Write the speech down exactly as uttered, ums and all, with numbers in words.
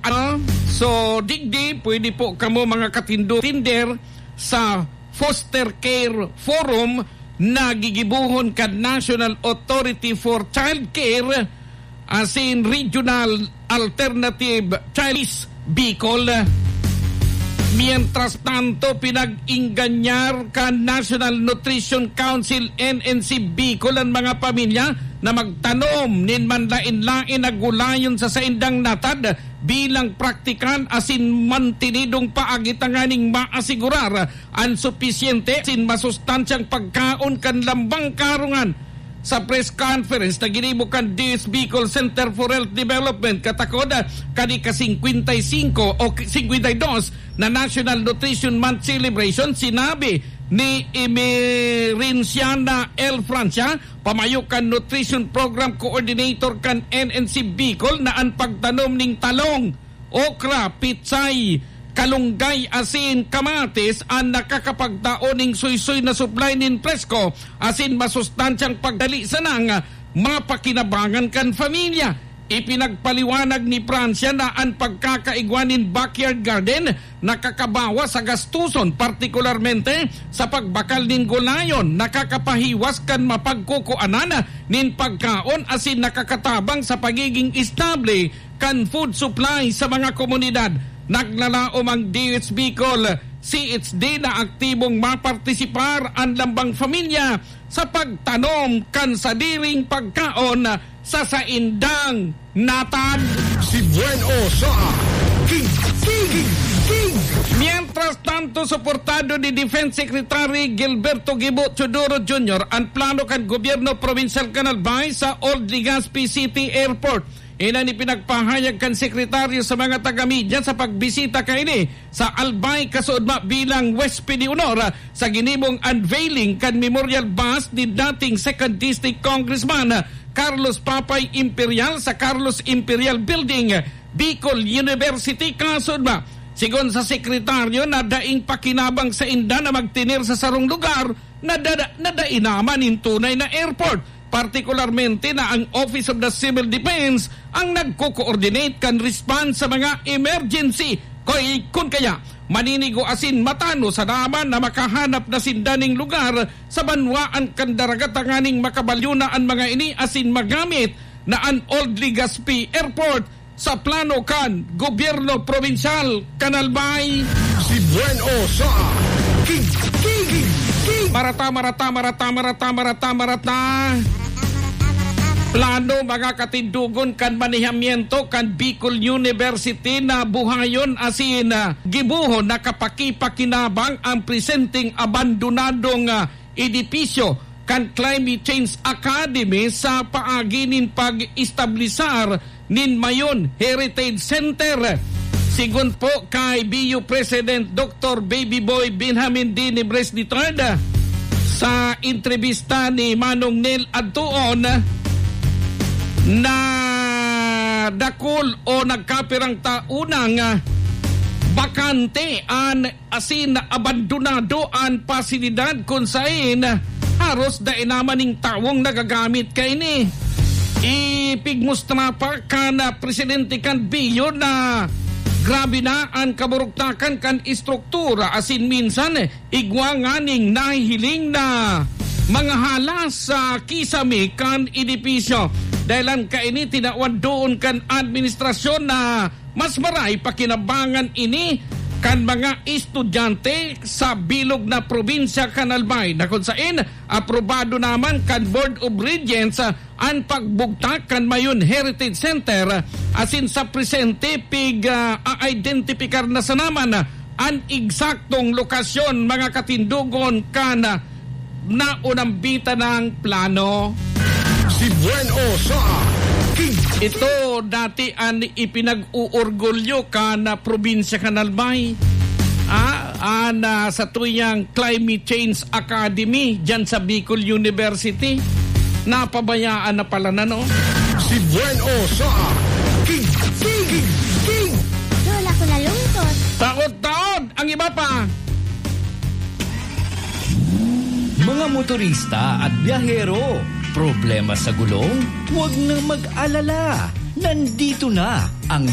Ano? So, digdi, pwede po kamo mga katindo-, tinder sa foster care forum na gigibohon kan National Authority for Child Care asin Regional Alternative Child Bicol. Mientras tanto, pinag-ingganyar kan National Nutrition Council, N N C Bicol, an mga pamilya na magtanom nin manlaen-laen na gulayon sa saindang natad bilang praktikal asin mantenidong paagi tanganing maasigurar an supisyente asin masustansyang pagkaon kan lambang karungan. Sa press conference na ginibo kan D S Bicol Center for Health Development katakod kan ika-singkwenta y singko o singkwenta y dos na National Nutrition Month Celebration, sinabi ni Emerenciana L. Francia, pamayo kan Nutrition Program Coordinator kan N N C Bicol, na an pagtanom ning talong, okra, pitsay, kalunggay asin kamatis an nakakapagtao ning suysoy na supply nin presko asin masustansyang pagdali sanang mapakinabangan kan pamilya. Ipinagpaliwanag ni Francia na an pagkakaigwa nin backyard garden nakakabawas sa gastuson, partikularmente sa pagbakal nin gulayon, nakakapahiwas kan mapagkukuanan nin pagkaon asin nakakatabang sa pagiging estable kan food supply sa mga komunidad. Naglalaom ang D H Bicol C H D na aktibong mapartisipar an lambang pamilya sa pagtanom kan sadiring pagkaon sa saindang natad. Si Buen O sa King, King, King, King. Mientras tanto, suportado ni Defense Secretary Gilberto Gibo Teodoro Junior an plano kan gobyerno probinsyal kan Albay sa Old Legazpi City Airport. Iyan an ipinagpahayag kan sekretaryo sa mga taga-media sa pagbisita kaini sa Albay, kasuodma bilang huwesped de honor sa ginibong unveiling kan memorial bust ni dating Second District Congressman Carlos Papay Imperial sa Carlos Imperial Building, Bicol University, kasuodma. Sigon sa sekretaryo na daing pakinabang sainda na magtener sa sarong lugar na dada-, na dai naman nin tunay na airport, partikularmente na ang Office of the Civil Defense ang nagko-coordinate kan response sa mga emergency. Koy, kun kaya, maninigo asin matanos sa daman na makahanap na sinda ning lugar sa banwaan kan dagat tanganing makabalyo na an mga ini asin magamit na an Old Legazpi Airport sa plano kan gobyerno probinsyal kan Albay. Si Buen O sa King, King, King, King. Marata, marata, marata, marata, marata, marata. Plano, mga katindogon, kan manehamiento kan Bicol University na buhayon asin, ah, gibohon na kapakipakinabang ang presenteng abandonadong, ah, edipisyo kan Climate Change Academy sa paagi nin pag-establisar nin Mayon Heritage Center. Sigon po kay B U President Doktor Baby Boy Benjamin D. Nibres the third, sa entrevista ni Manong Nel Adtuon, na dakul o nagkapirang taon nang bakante an asin abandonado an pasilidad kun saen haros dai naman ning tawong nagagamit kaini. Ipigmustra pa kan, ah, presidente kan B U na grabe na an kaburugtakan kan estruktura asin minsan igwa nganing nahihiling na mga halas sa kisame kan edipisyo. Dahelan kaini, tinawan doon kan administrasyon na mas maray pakinabangan ini kan mga estudyante sa bilog na probinsya kan Albay, na kun saen aprobado naman kan Board of Regents, ah, an pagbugtak kan Mayon Heritage Center, ah, asin sa presente pig, ah, a-identipikar na sanaman, ah, an eksaktong lokasyon, mga katindogon, kan, ah, naunambitan ng plano. Si Buen O sa King. Ito dati an ipinag-uorgulyo kan, ah, probinsya kan Albay. Ah, an, ah, sa tuyang Climate Change Academy diyan sa Bicol University. Napabayaan na pala na, no? Si Buen O sa King, King, King, King. Lola ko nalungkot. Taod-taod ang iba pa. Mga motorista at biyahero, problema sa gulong? Huwag na mag-alala. Nandito na ang